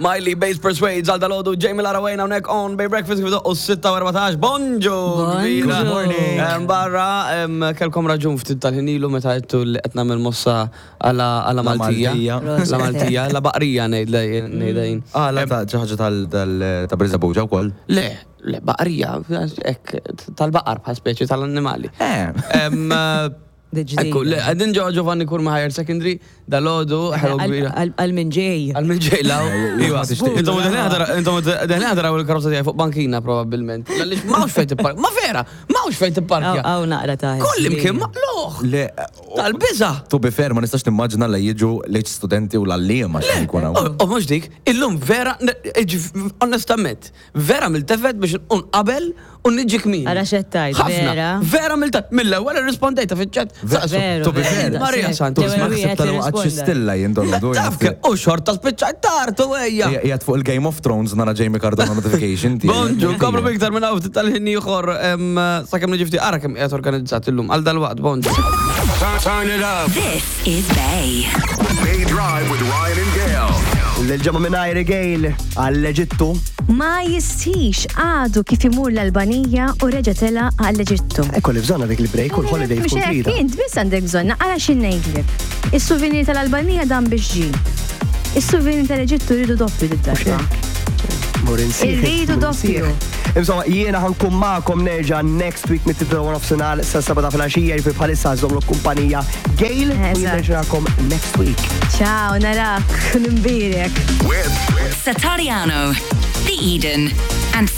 Miley Bass Persuades għal dalodu Jamie Lara Wayne hawnhekk on Bay Breakfast kif doqqu 6:14. Bonġu! Bonġu. Good morning. Barra, kelkom raġun ftit tal-ħin ilu meta għedtu li qed nagħmel mossa għala għala Maltija. Maltija. La Maltija, la baqrija ngħidla ngħidha jien. Għala ta' xi ħaġa tal ta' Birżebbuġa wkoll. Le, le baqrija, hekk tal-baqar bħal speċi tal-annimali. Dik Ekku, le, ġdida. qegħdin ġewwa Giovanni Curmi Higher Secondary, dalodu, ħelu kbira. Għal min ġej. Għal min ġej law. Iva. ma tixtieq. Intom deħlin ħadaraw il-karozza tiegħi fuq bankina probabbilment. Għaliex m'hawnx fejn tipparkja. Ma vera, m'hawnx fejn tipparkja. Hawn naqra ta' Kull imkien maqluħ. Le, Tal-biża. to be fair, ma nistax nimmaġina li jiġu leċ studenti u l-għalliema x'ħin ikun hawn. U mhux dik, illum vera, onestament, Vera miltefet biex nqum qabel u niġi kmieni. Ara x'qed tgħid, Ħafna. vera? Vera miltefet. Mill-ewwel irrispondejta fiċ-chat. Saqsu. Veru, To be veru, fair. daqshekk. Maria Santa, L-ewwel Ma ħsibta wieħed li li waqgħet xi rrisponda. stilla jien dolodu. Taf ke, u xorta spiċċajt tard u ejja. Qiegħed fuq il-Game of Thrones nara Jamie Cardona notification tiegħi. Bonġu, nkomplu biktar minn hawn ftit tal-ħin ieħor sakemm niġi ftit ara kemm qiegħed organizzat illum għal dalwaqt, bonġu. Turn it up. This is Bay. Bay Drive with Ryan and Gail. L-ġemma minn Gail għall-Eġittu. Ma jistħix għadu kif imur l-Albanija u reġa' tela' għall-Eġittu. Ekku li bżonna dik il-break u l-holiday Mhux tkun hekk, trida. int biss għandek bżonna, ara xi ngħidlek. Is-souvenir tal-Albanija dan biex ġie. Is-souvenir tal-Eġittu rridu doppju did-darba. Mur insieħ. Irridu mur doppju. insieħ. Insomma, jiena ħankun magħkom nerġa' next week mit-tibda wara nofsinhar sa seba' ta' filgħaxija jiġifieri bħalissa żommlu kumpanija Gail u jien Eżatt. nerġa' narakom next week. Ciao, narak, nimbirek. With Satariano, The Eden, and